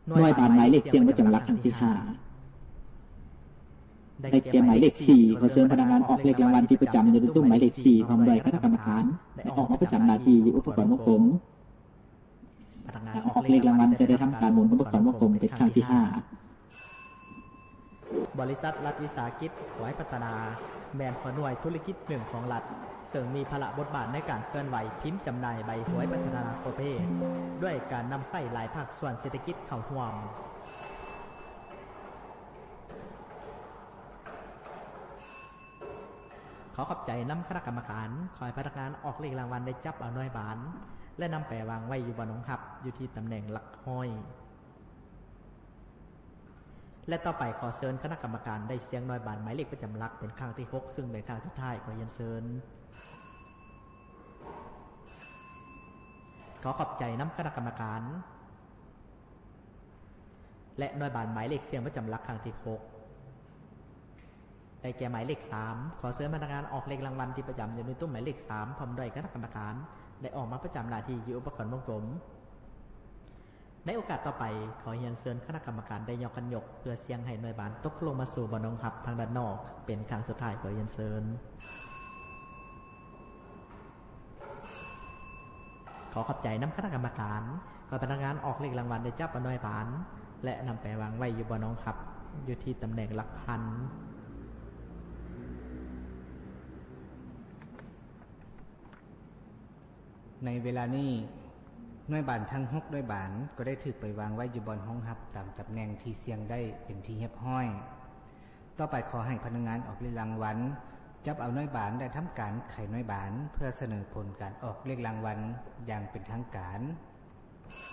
ໜ່ວຍບານໝາຍເລກສ່ຽງປະຈຳຫຼັກຄັ້ງທີຫ້າ ໄດ້ແກ່ໝາຍເລກສີ່. ຂໍເຊີນພະນັກງານອອກເລກລາງວັນທີ່ປະຈຳຢູ່ໃນຕຸ້ມໝາຍເລກສີ່ ພ້ອມດ້ວຍຄະນະກຳມະການ ໄດ້ອອກມາປະຈຳໜ້າທີ່ຢູ່ອຸປະກອນວົງກົມ. ພະນັກງານອອກເລກລາງວັນຈະໄດ້ທຳການໝູນອຸປະກອນວົງກົມເປັນຄັ້ງທີຫ້າ. ບໍລິສັດລັດວິສາຫະກິດຫວຍພັດທະນາ ແມ່ນຫົວໜ່ວຍທຸລະກິດໜຶ່ງຂອງລັດ ເຊິ່ງມີພາລະບົດບາດໃນການເຄື່ອນໄຫວພິມຈຳໜ່າຍໃບຫວຍພັດທະນາທົ່ວປະເທດ ດ້ວຍການນຳໃຊ້ຫຼາຍພາກສ່ວນເສດຖະກິດເຂົ້າຮ່ວມ. ຂໍຂອບໃຈນຳຄະນະກຳມະການ. ຂໍໃຫ້ພະນັກງານອອກເລກລາງວັນໄດ້ຈັບເອົາໜ່ວຍບານ ແລະ ນຳໄປວາງໄວ້ຢູ່ບ່ອນຮອງຮັບ ຢູ່ທີ່ຕຳແໜ່ງຫຼັກຮ້ອຍ. ແລະ ຕໍ່ໄປຂໍເຊີນຄະນະກຳມະການໄດ້ສ່ຽງໜ່ວຍບານໝາຍເລກປະຈຳຫຼັກເປັນຄັ້ງທີຫົກ ຊຶ່ງເປັນຄັ້ງສຸດທ້າຍ. ຂໍຮຽນເຊີນ. ຂໍຂອບໃຈນຳຄະນະກຳມະການ ແລະ ໜ່ວຍບານໝາຍເລກສ່ຽງປະຈຳຫຼັກຄັ້ງທີຫົກ ໄດ້ແກ່ໝາຍເລກສາມ. ຂໍເຊີນພະນັກງານອອກເລກລາງວັນທີ່ປະຈຳຢູ່ໃນຕຸ້ມໝາຍເລກສາມ ພ້ອມດ້ວຍຄະນະກຳມະການ ໄດ້ອອກມາປະຈຳໜ້າທີ່ຢູ່ອຸປະກອນວົງກົມ. ໃນໂອກາດຕໍ່ໄປ, ຂໍຮຽນເຊີນຄະນະກຳມະການໄດ້ຍົກຂັນຍົກ ເພື່ອສ່ຽງໃຫ້ໜ່ວຍບານຕົກລົງມາສູ່ບ່ອນຮອງຮັບທາງດ້ານນອກ ເປັນຄັ້ງສຸດທ້າຍ. ຂໍຮຽນເຊີນ. ຂໍຂອບໃຈນຳຄະນະກຳມະການ. ຂໍໃຫ້ພະນັກງານອອກເລກລາງວັນໄດ້ຈັບເອົາໜ່ວຍບານ ແລະ ນຳໄປວາງໄວ້ຢູ່ບ່ອນຮອງຮັບ ຢູ່ທີ່ຕຳແໜ່ງຫຼັກພັນ. ໃນເວລານີ້, ໜ່ວຍບານທັງຫົກໜ່ວຍບານກໍໄດ້ຖືກໄປວາງໄວ້ຢູ່ບ່ອນຮອງຮັບຕາມຕຳແໜ່ງທີ່ສ່ຽງໄດ້ເປັນທີ່ຮຽບຮ້ອຍ. ຕໍ່ໄປຂໍໃຫ້ພະນັກງານອອກເລກລາງວັນ ຈັບເອົາໜ່ວຍບານ ແລະ ທຳການໄຂໜ່ວຍບານ ເພື່ອສະເໜີຜົນການອອກເລກລາງວັນຢ່າງເປັນທາງການ.